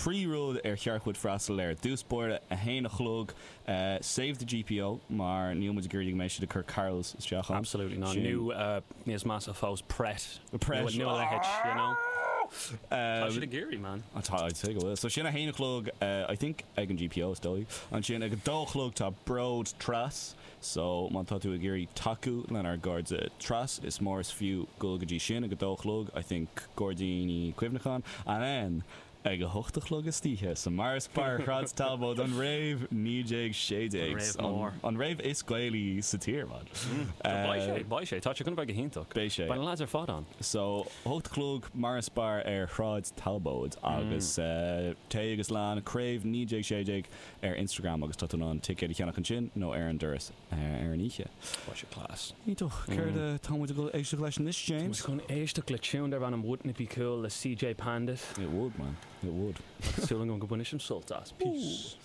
3 rud ar cheart dhuit freastal air. Dtús báire, 1 a chlog, Save the GPO, mar níl muid ag iarraidh go mbeidh siad ag cur carols isteach ann. Absolutely not. Nó níos measa fós, Pret. Pret. Nó a leithéid, you know. Tá siad ag iarraidh, man. Tá, I'd say go bhfuil. So sin 1 a chlog, I think, ag an GPO, is dóigh. Ansin ag 2 a chlog tá Bród Tras. So má tá tú ag iarraidh tacú lenár gcairde Tras, is mór is fiú dul go dtí sin ag 2 a chlog, I think, Gairdíní Cuimhneacháin. And then ag 8 a chlog istoíche sa Morris Bar Shráid Talbóid, an rave 1916. An rave mór. An rave is Gaelaí sa tír, man. Beidh sé, beidh sé. Tá sé chun a bheith go hiontach. Beidh sé. Beidh na lads ar fad ann. So, 8 a chlog, Morris Bar ar Shráid Talbóid agus téigh agus lean Craobh 1916 ar Instagram agus tá tú in ann ticéid a cheannach ansin nó ar an doras ar an oíche. Beidh sé class. Iontach. Céard atá muid ag dul éisteacht leis anois, James? Tá muid chun éisteacht le tune darb ainm Wouldn't It Be Cool le CJ Pandit. It would, man. It would. Agus súil agam go mbainfidh sibh sult as. Peace.